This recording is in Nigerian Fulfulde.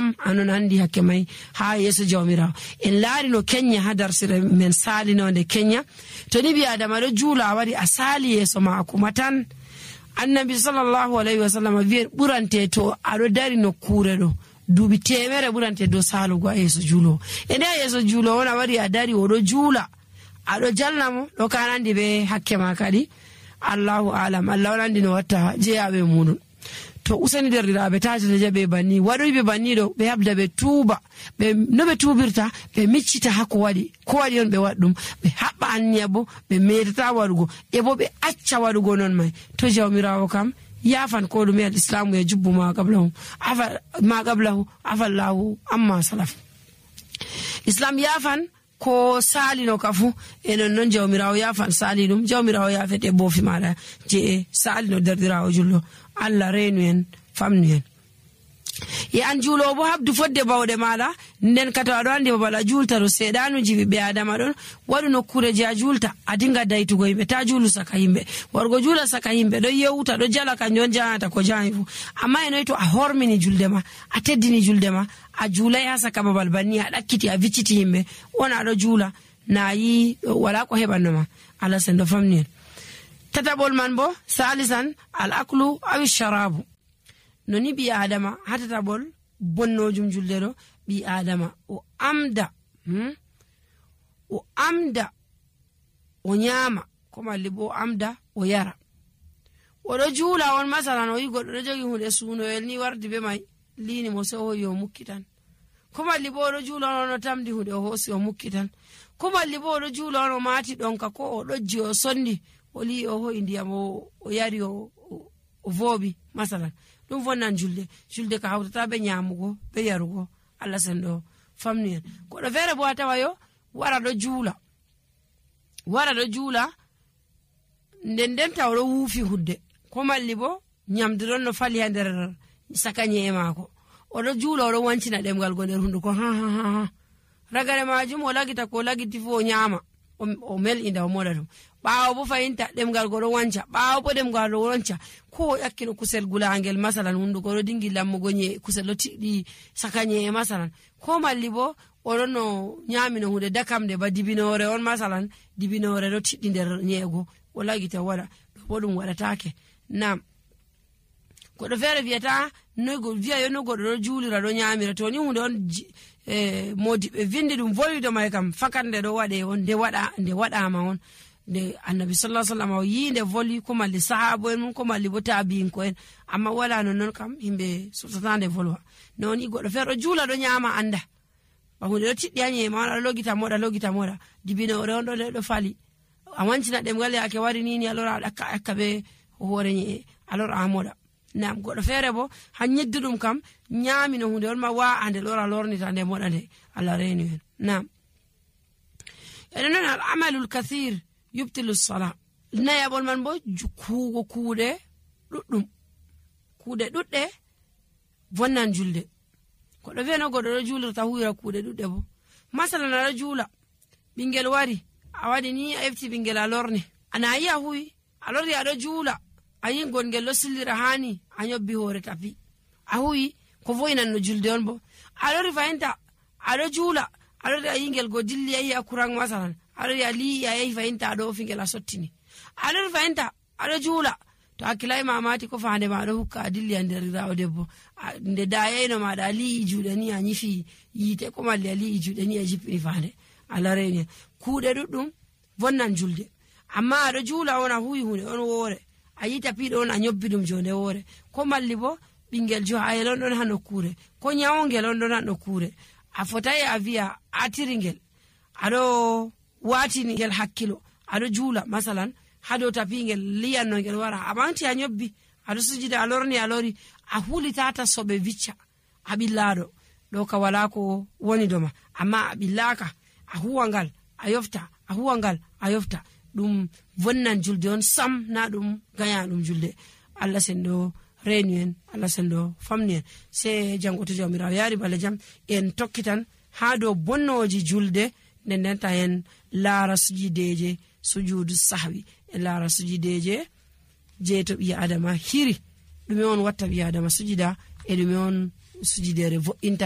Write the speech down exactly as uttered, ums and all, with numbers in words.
sam anon andi hakke mai ha yeso jawmirawo. En laari no Kenya ha darsire men salinonde Kenya to ni bi adama do juula wari asali yeso maako matan annabi sallallahu alaihi wasallam vi burante to ado dari no kure do dubi temere burante do salugo yeso juulo e nda yeso juulo wona wari a dari o do juula ado jallamo do kanandi be hakke ma kadi Allahu alam Allah wonandi no watta jeyabe munun. To usani derriraɓe tatata jaɓe banni waɗoyɓe banni ɗo ɓe habda ɓe tuuba ɓe no ɓe tuubirta ɓe miccita ha ko waɗi ko waɗi on ɓe waɗ ɗum ɓe haɓɓa anniya bo ɓe metata waɗugo e bo ɓe acca waɗugo non mai to jawmirawo kam yafan ko ɗume al islamu ya jubbu ma qablahu afa ma qablahu afallahu amma salaf. Islam yafan ko salino kafu e non non jawmirawo yafan sali ɗum jawmirawo yafete bofi maɗa je salino derdirawo jullo Allah reenu en famnu en. E an juulo bo habdu fodde bawde mala nden kato ado andi babala julta ro sedanu jibi be adama don wadu nokkure je a julta adinga daytugo yimbe ta julu saka yimbe wargo jula saka yimbe do yewuta do jala kanjon jaata ko jaayifu amma eno to a hormini julde ma a teddini julde ma a julay ha saka babal banni a dakkiti a vicciti yimbe ona do jula nayi wala ko hebanno ma ala sendo famni en. Tatabol man bo salisan al aklu aw sharabu noni bi adama hatatabol bonnojum julde do bi adama o amda hmm? o amda o nyama ko malli bo amda o yara o do jula on masalan o yigo do jogi hunde suno el ni wardi be mai lini mo so yo mukkitan ko malli bo do jula on tamdi hunde o hosi o mukkitan ko malli bo do jula on mati donka ko o dojji o sondi oli o ho indiyam o yari o o vobi masalan dum vonnan julde julde ka hawtata be nyamugo be yarugo Allah sendo famni en ko do fere bo atawa yo wara do juula wara do juula nden den tawro wufi hudde ko malli bo nyamdiron no fali ha der sakanye e mako o do juula o do wancina demgal go der hunduko ha ha ha ragare majum o lagita ko lagiti fo nyama o mel inda o modatum baawo bo fayinta demgal go do wanca baawo bo demgal do wanca ko yakkino kusel gulangel masalan hundu go do dingi lammugo nye kusel lo tiddi sakanye e masalan ko malli bo o don no nyamino hunde dakamde ba dibinore on masalan dibinore do tiddi der nyego o lagita wala do bodum wadatake nam ko do fere viata no go via yo no go do julira do nyamira to ni hunde on eh modi be vindi dum volido may kam fakande do wade on de wada de wada ma on de annabi sallallahu alaihi wasallam yinde voli ko malli sahabo en ko malli bo tabiin ko en amma wala non non kam himbe sotande volwa non i godo fero jula do nyama anda ba hunde do tiddi anye ma logita moda logita moda dibino re on do do fali awancina dem gale ake wari nini alora akka akka be hore ni alora amoda nam godo fere bo hanyeddu dum kam nyami no hunde on ma wa ande lora lorni tande moda de alla reeni en nam enen al amalul kathir yubtilu as-salat naya bol man bo kuugo kuude duddum kuude dudde vonnan julde ko do veno godo do julirta huira kuude dudde bo masalan ala jula bingel wari awadi ni efti bingel alorni ana yi huyi alori ado jula ayin gongel lo sillira hani anyobbi hore tapi ahuyi ko voinan no julde on bo alori fayinta ado jula alori ayingel go dilli ayi akurang masalan alori ali ayi fayinta do fingel asottini alori fayinta ado jula to akilai mamati ko faande ma do hukka dilli anderira o debbo nde dayeno ma da ali jude ni anyifi yite ko malli ali jude ni ajipi faande alarene kuude duddum vonnan julde amma ado jula ona huyi hunde on wore ayita pido on anyobbidum jonde wore ko malli bo bingel jo ayelon don hano kure ko nyaawngel on don hano kure afotai avia atiringel ado watini ngel hakkilo ado jula masalan hado tapingel liyanno ngel wara amanti anyobbi ado sujida alorni alori a hulitata sobe vicca abillado do ka wala ko woni doma amma abillaka a huwangal ayofta a huwangal ayofta dum vonnan julde on sam na dum ganya dum julde Allah sendo renuen Allah sendo famnien se jangoto jomirawo yari bala jam en tokkitan ha do bonnoji julde nden den ta en lara sujideje sujudu sahwi e lara sujideje je to bi adama hiri dum on watta bi adama sujida e dum on sujidere vo inta